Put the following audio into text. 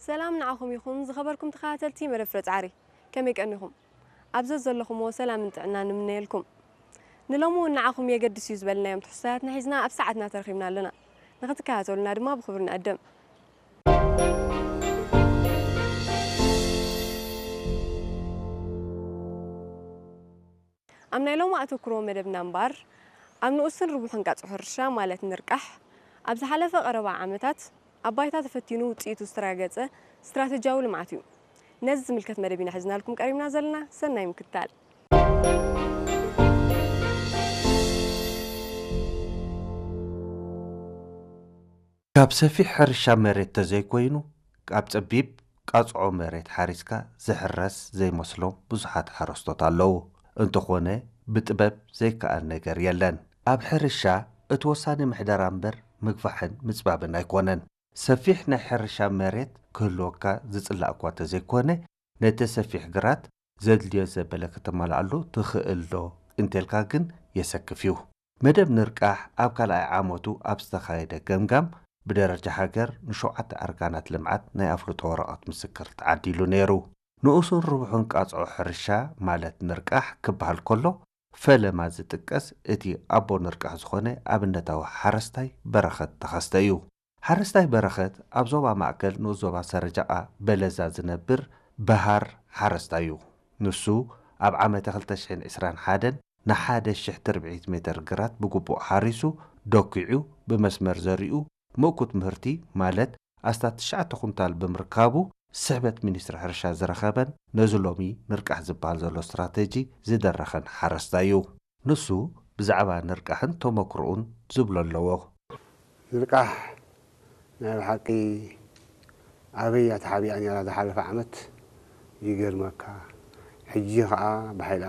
ሰላም ንዓኹም ይኹን ዝኸበርኩም ተኸታተልቲ መደብ ፍረ ጻዕሪ። ከመይ ቀኒኹም? ኣብ ዘዘለኹምዎ ሰላምን ጥዕናን ንምነየልኩም። ንሎሚ እውን ንዓኹም የገድስ እዩ ዝበልናዮም ትሕዝቶታትና ሒዝና ኣብ ሰዓትና ተረኺብና ኣለና። ንኽትከታተሉና ድማ ብኽብሪ ንዕድም። ኣብ ናይ ሎሚ ኣተኩሮ መደብና እምበኣር፣ ኣብ ንኡስን ርቡሕን ቃጽዖ ሕርሻ ማለት ንርቃሕ፣ ኣብ ዝሓለፈ ቀረባ ዓመታት ኣብ ባይታ ተፈቲኑ ውጽኢቱ ዝተረጋገጸ ስትራተጂያዊ ልምዓት እዩ። ነዚ ዝምልከት መደብ ኢና ሒዝናልኩም ቀሪብና ዘለና። ሰናይ ምክትታል። ካብ ሰፊሕ ሕርሻ መሬት ተዘይኮይኑ፣ ካብ ጸቢብ ቃጽዖ መሬት ሓሪስካ ዝሕረስ ዘይመስሎም ብዙሓት ሓረስቶት ኣለዉ። እንተኾነ፣ ብጥበብ ዘይከኣል ነገር የለን። ኣብ ሕርሻ እቲ ወሳኒ ምሕደራ እምበር ምግፋሕን ምጽባብን ኣይኮነን። ሰፊሕ ናይ ሕርሻ መሬት ክህልወካ ዝጽላእ እኳ ተዘይኮነ፣ ነቲ ሰፊሕ ግራት ዘድልዮ ዘበለ ከተማልኣሉ ትኽእል ዶ እንተልካ ግን የሰክፍ እዩ። መደብ ንርቃሕ ኣብ ካልኣይ ዓመቱ ኣብ ዝተኻየደ ገምጋም ብደረጃ ሃገር ንሸውዓተ ኣርካናት ልምዓት ናይ ኣፍልጦ ወረቐት ምስክር ተዓዲሉ ነይሩ። ንኡሱን ርቡሕን ቃጽዖ ሕርሻ ማለት ንርቃሕ ክበሃል ከሎ፣ ፈለማ ዝጥቀስ እቲ ኣቦ ንርቃሕ ዝኾነ ኣብነታዊ ሓረስታይ በረኸት ተኸስተ እዩ። ሓረስታይ በረኸት ኣብ ዞባ ማእከል ንኡስ ዞባ ሰረጃቓ በለዛ ዝነብር በሃር ሓረስታይ እዩ። ንሱ ኣብ ዓመተ ክልተ ሽሕን ዕስራን ሓደን ንሓደ ሽሕ ትርብዒት ሜተር ግራት ብግቡእ ሓሪሱ፣ ደኪዑ፣ ብመስመር ዘሪኡ፣ ምእኩት ምህርቲ ማለት ኣስታት ትሽዓተ ኩንታል ብምርካቡ፣ ስሕበት ሚኒስትሪ ሕርሻ ዝረኸበን ነዚ ሎሚ ንርቃሕ ዝበሃል ዘሎ ስትራተጂ ዝደረኸን ሓረስታይ እዩ። ንሱ ብዛዕባ ንርቃሕን ተመክሮኡን ዝብሎ ኣለዎ። ንርቃሕ ናይ ብሓቂ ኣበይ እያ ተሓቢኣ ነይራ ዝሓለፈ ዓመት? ይገርመካ። ሕጂ ኸኣ ብሓይሊ